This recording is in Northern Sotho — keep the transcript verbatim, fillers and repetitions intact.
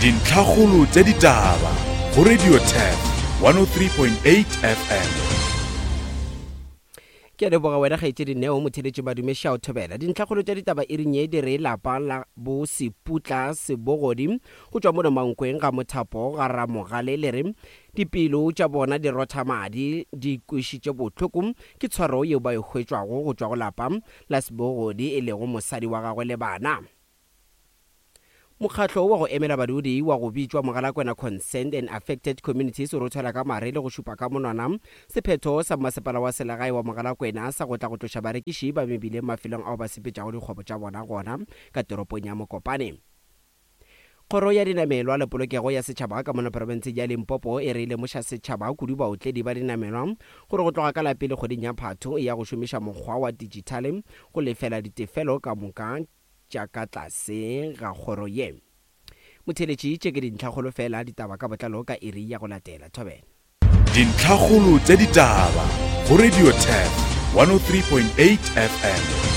Dintlhakgolo tša ditaba go Radio Turf one oh three point eight F M. Ke a leboga wena kgaetšedi Neo Motheletši Madume Šao Thobela. Dintlhakgolo tša ditaba e ring ye di re lapa la bo Seputla Sebogodi go tšwa mono Mankweng ga Mothapo ga Ramogale le re dipelo tša bona di rotha madi di kwešitše bohloko ke tshwaro yeo ba e hwetšwago go tšwa go lapa la Sebogodi e lego mosadi wa gagwe le bana. Mokgatlo wa go emela badudi wa go bitšwa Mogalakwena Concerned and Affected Communities o rothela ka mare le go šupa ka monwana sephetho sa mmasepala wa selegae wa Mogalakwena sa go tla go tloša barekiši ba mebileng mafelong ao ba sepetšago dikgwebo tša bona gona ka toropong ya Mokopane. Kgoro ya dinamelwa le polokego ya setšhaba ka mono profenseng ya Limpopo e re lemoša setšhaba kudu baotledi ba dinamelwa gore go tloga ka la pele kgweding ya Phatho e ya go šomiša mokgwa wa digitale go lefela ditefelo ka moka tša ka tlase ga kgoro ye. Motheletši tše ke dintlhakgolo fela ditaba ka botlalo ka iri ya go latela. Thobela. Dintlhakgolo tša ditaba go Radio Turf one oh three point eight F M.